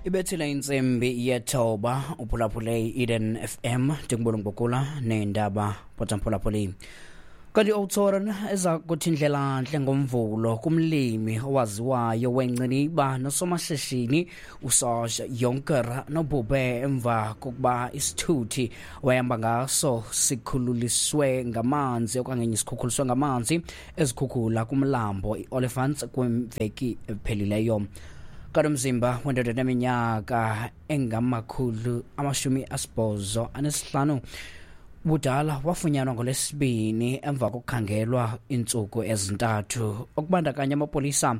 Ibethile intsimbi yethoba, uphulaphule i-Eden FM, ndingubulungubukula neendaba potamphulaphuli. Kanti Oudtshoorn eza kuthi indlela-ntle ngomvulo kumlimi owaziwayo wenciniba nosomashishini uSarge Jonker nobhubhe emva kokuba isithuthi wayehamba ngaso sikhululiswe ngamanzi okanye sikhukhuliswe ngamanzi ezikhukhula kumlambo i-Olifants kwimveki ephelileyo. Kanti umzimba wendoda eneminyaka engama-85 budala wafunyanwa ngolwesibini emva kokukhangelwa iintsuku ezintathu, okubandakanya amapolisa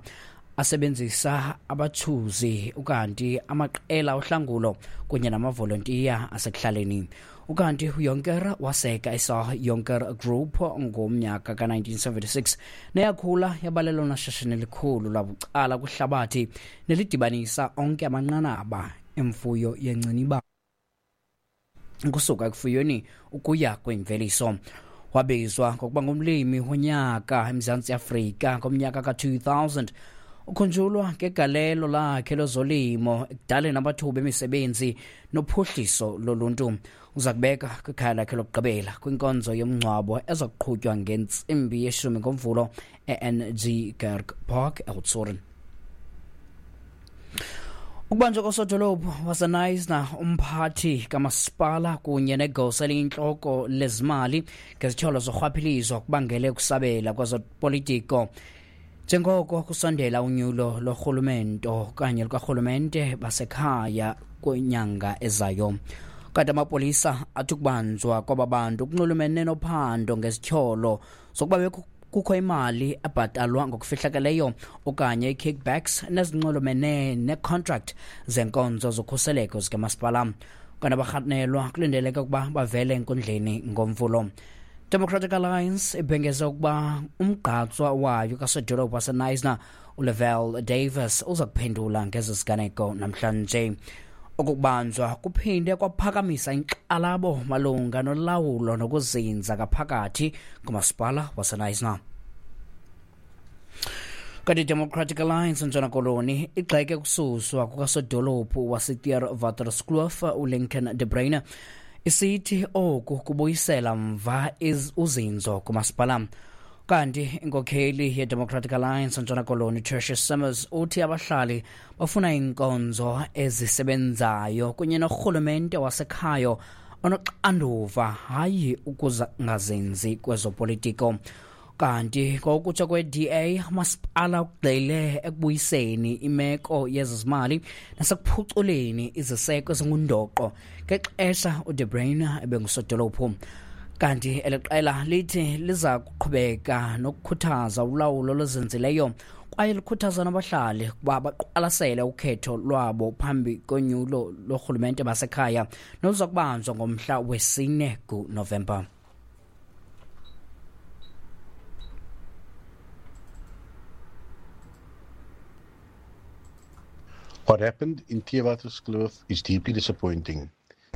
asebenzisa abathuzi, ukanti amaqela ohlangulo kunye namavolontiya asekuhlaleni. Ukanti uYonker waseka isa Yonker Group ngomnyaka ka-1976 neyakhula yabalelona shishini likhulu labucala kwihlabathi nelidibanisa onke amanqanaba emfuyo yenciniba ukusuka ekufuyweni ukuya kwimveliso. Wabizwa ngokuba ngumlimi wonyaka eMzantsi Afrika ngomnyaka ka-2000. Ukhunjulwa ngegalelo lakhe lezolimo ekudaleni amathuba emisebenzi nophuhliso loluntu. Uza kubeka kwikhaya lakhe lokugqibela kwinkonzo yomngcwabo eza kuqhutywa ngentsimbi yeshumi ngomvulo e-NG Kerk Park eOudtshoorn. Ukubanjwa kosodolophu waseNaisna, umphathi kamasipala kunye negosa eliyintloko lezimali ngezityholo zorhwaphilizo kubangele ukusabela kwezopolitiko njengoko kusondela unyulo lorhulumento okanye lukarhulumente basekhaya kwinyanga ezayo. Kanti amapolisa athi ukubanjwa kwaba bantu kunxulumene nophando ngezityholo zokuba kukho imali ebhatalwa ngokufihlakeleyo okanye i-kickbacks nezinxulumene ne-contract zenkonzo zokhuseleko zikamasipala. Kanti abarhanelwa kulindeleke ukuba bavele enkundleni ngomvulo. Democratic Alliance ibhengeze ukuba umgqatswa wayo kasodolophu waseNaisna uLevelle Davis uza kuphendula ngezi ziganeko namhlanje. Okukubanjwa kuphinde kwaphakamisa inkxalabo malunga nolawulo nokuzinza ngaphakathi kumasipala waseNaisna. Kanti iDemocratic Alliance Ntshona Koloni igxeke ukususwa kukasodolophu waseTheewaterskloof uLincoln De Bruyne, isithi oku kubuyisela mva uzinzo kumasipala. Kanti inkokheli yeDemocratic Alliance Ntshona Koloni Tertius Summers uthi abahlali bafuna iinkonzo ezisebenzayo kunye norhulumente wasekhayo onoxanduva, hayi ukuzingazinzi kwezopolitiko. Kanti ngokutsho kwe-DA, umasipala ugxile ekubuyiseni imeko yezezimali nasekuphuculeni iziseko ezingundoqo ngexesha uDe Bruyne ebengusodolophu. Kanti eli qela lithi liza kuqhubeka nokukhuthaza ulawulo oluzinzileyo kwaye likhuthaza nabahlali ukuba baqwalasele ukhetho lwabo phambi konyulo lorhulumente basekhaya noluza kubanjwa ngomhla wesine kuNovemba. What happened in Theewaterskloof is deeply disappointing.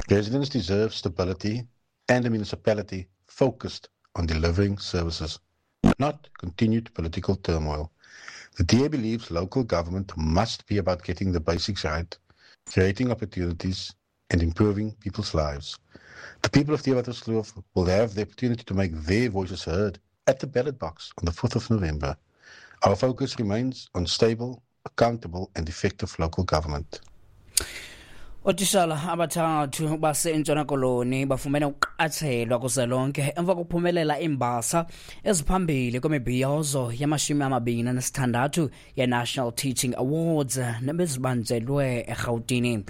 Residents deserve stability and a municipality focused on delivering services, not continued political turmoil. The DA believes local government must be about getting the basics right, creating opportunities, and improving people's lives. The people of Theewaterskloof will have the opportunity to make their voices heard at the ballot box on the 4th of November. Our focus remains on stable, accountable, and effective local government. Ootishala abathathu baseNtshona Koloni bafumene ukuqatshelwa kuzwelonke emva kokuphumelela iimbasa eziphambili kwimibhiyozo yama-26 ye-National Teaching Awards nebezibanjelwe eRhawutini.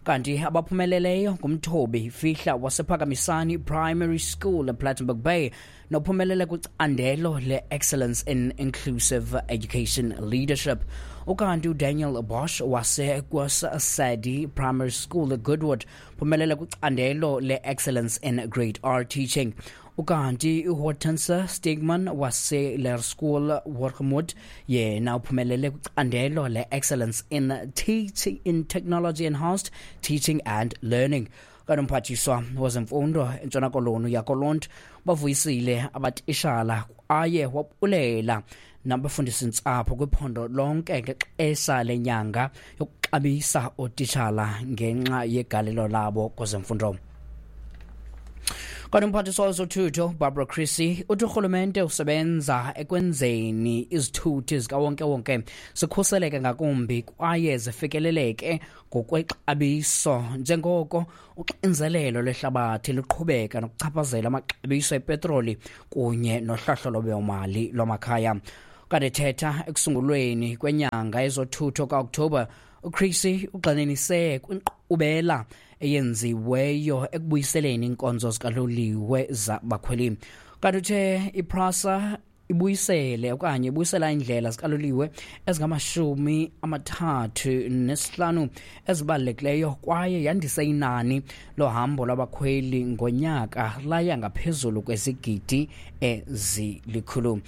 Kanti abaphumeleleyo ngumthobi Fihla wasePhakamisani Primary School ePlattenberg Bay nophumelele kwicandelo le-Excellence in Inclusive Education Leadership. Ukanti uDaniel Bosch waseKwasadi Primary School eGoodwood phumelele kwicandelo le-Excellence in Grade R Teaching. Ukanti uHortense Stigman wase-Laerskool Wargemut yena uphumelele kwicandelo le-Excellence in Teaching in Technology Enhanced Teaching and Learning. Kanti umphathiswa wezemfundo eNtshona Koloni uYakolont bavuyisile abatishala kwaye wabulela nabafundisi ntsapho kwiphondo lonke ngexesha lenyanga. Uxabisa ootitshala ngenxa yegalelo labo kwezemfundo. Kanti umphathiswa wezothutho Barbara Creecy uthi urhulumente usebenza ekwenzeni izithuthi zikawonkewonke zikhuseleke ngakumbi kwaye zifikeleleke ngokwexabiso njengoko uxinzelelo lwehlabathi luqhubeka nokuchaphazela amaxabiso epetroli kunye nohlahlo lwabiwomali lwamakhaya. Kanti ethetha ekusungulweni kwenyanga yezothutho kaOkthobha, uCreecy ugxininise kwinkqubela eyenziweyo ekubuyiseleni iinkonzo zikaloliwe zabakhweli. Kanti uthe iPrasa ibuyisele okanye ibuyisela iindlela zikaloliwe ezingama-35 ezibalulekileyo kwaye yandise inani lohambo lwabakhweli ngonyaka laya ngaphezulu kwezigidi ezilikhulu.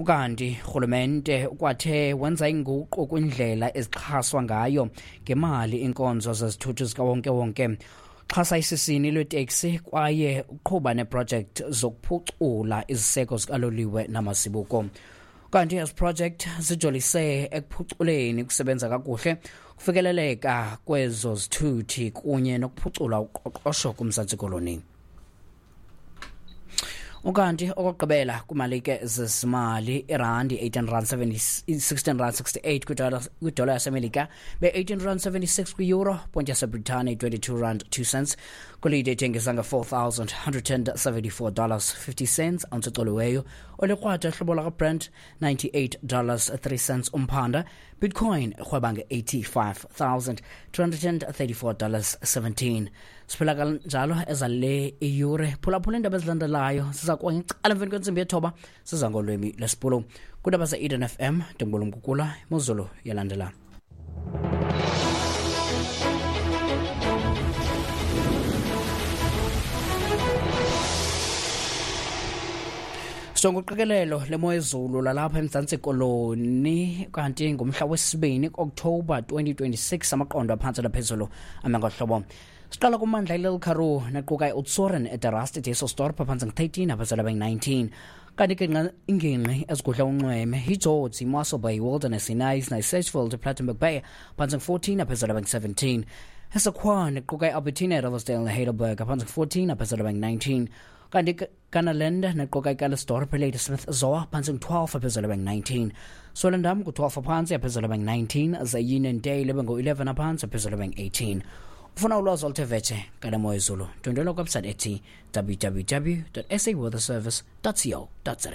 Ukanti urhulumente ukwathe wenza inguqu kwindlela ezixhaswa ngayo ngemali iinkonzo zezithuthi zikawonkewonke, xhasa isisini lweteksi kwaye uqhuba neeprojekthi zokuphucula iziseko zikaloliwe namazibuko. Kanti ezi project zijolise ekuphuculeni ukusebenza kakuhle, kufikeleleka kwezo zithuthi kunye nokuphucula uqoqosho kuMzantsi Koloni. Ukanti okokugqibela kwimalike zezimali, irandi 18 rand 16 rand 68 kwidola yaseMelika, be-18 rand 76 kwi-euro, point yaseBritane 22 rand 2 cents, golide ithengisa nge-$4,174 50 cents ounce ecoliweyo, olikrwada hlobo lakaBrent $98 3 cents umphanda, Bitcoin irhweba nge-$85,234 17. Siphela kanjalo ezale iyure. Phulaphula iindaba ezilandelayo siza kuwa ngecala emveni kwentsimbi yethoba, siza ngolwimi lwesiBhulu. Kwiindaba ze-Eden FM, ndingubulumkukula imozulu yalandela. Sonke uqikelelo lemo yezulu lalapha eMzantsi Koloni kanti ngumhla wesibini October 2026, amaqondo aphantsi naphezulu ame ngohlobo. Siqala kumandla iLittle Karoo nequka iOudtshoorn, eDerast, eDysselsdorp phantsi ngu-13, aphezulu abe-19. Kanti ke ingingqi ezigudla unxweme yiGeorge, iMossel Bay, Wilderness, iKnysna, iSedgefield, iPlettenberg Bay phantsi ngu-14, aphezulu abe-17. ESekhwane quka iAlbertina, eRiversdale neHeidelberg phantsi ngu-14, aphezulu abe-19. Kanti Kannaland nequka iCallisdorp, iLadysmith, Zoar phantsi ngu-12, aphezulu abe-19. Swellendam ngu-12 aphantsi, aphezulu abe-19. Ze-Uniondale ibe ngu-11 aphantsi, aphezulu abe-18. Ufuna ulwazi oluthe vetshe ngale mo yezulu, ndwendwela kwebsite ethi www.saweatherservice.co.za.